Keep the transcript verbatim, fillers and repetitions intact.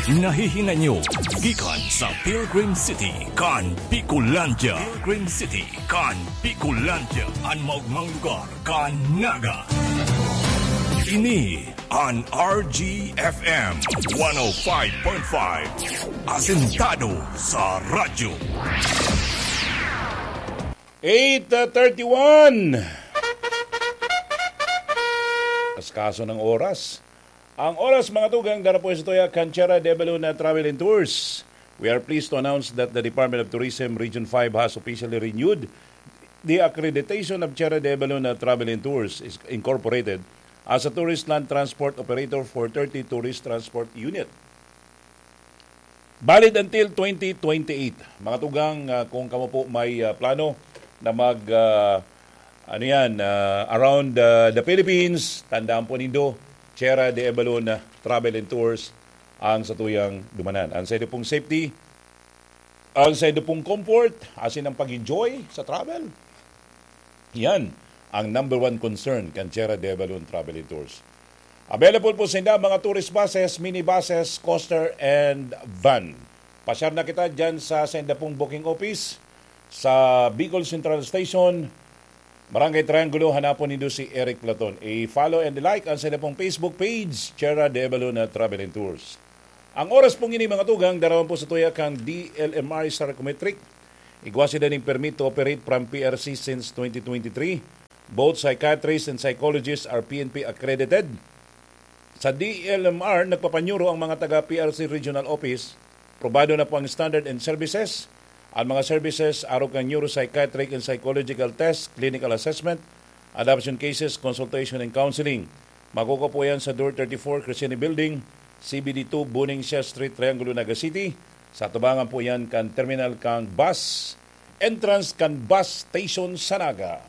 Nahihinanyo gikan sa Pilgrim City kan Bicolandia. Pilgrim City kan Bicolandia, an maogmang lugar kan Naga. Ini an R G F M one oh five point five, asentado sa radyo. Eight thirty-one. Kaskaso ng oras. Ang oras, mga tugang, dara po sa tuya kan Tierra de Balon na Travel and Tours. We are pleased to announce that the Department of Tourism Region five has officially renewed the accreditation of Tierra de Balon na Travel and Tours is- Incorporated as a tourist land transport operator for thirty tourist transport unit. Valid until twenty twenty-eight. Mga tugang, ah, kung kamo po may, ah, plano na mag, ah, ano yan, ah, around, ah, the Philippines, tandaan po nindo, Tierra de Balon na Travel and Tours ang satuyang dumanan. Ang sa inyo pong safety, ang sa inyo pong comfort, asin ang pag-enjoy sa travel. Yan ang number one concern kan Tierra de Balon Travel and Tours. Available po sinda mga tourist buses, minibuses, coaster, and van. Pasyar na kita dyan sa senda pong booking office sa Bicol Central Station, Barangay Triangulo. Hanapon nindo si Eric Platon. I-follow and like ang senda pong Facebook page, Tierra de Balon Travel and Tours. Ang oras pong ini, mga tugang, darawan po sa tuya kang D L M R Psychometric. Igwa sila ning permit to operate from P R C since twenty twenty-three. Both psychiatrists and psychologists are P N P accredited. Sa D L M R, nagpapanyuro ang mga taga P R C Regional Office. Probado na po ang standard and services. Ang mga services, arog kan neuropsychiatric and psychological test, clinical assessment, adoption cases, consultation and counseling. Makukuha po yan sa Door thirty-four, Crescene Building, C B D two, Buning Siya Street, Triangulo, Naga City. Sa tubangan po yan kan terminal kan bus, entrance kan bus station sa Naga.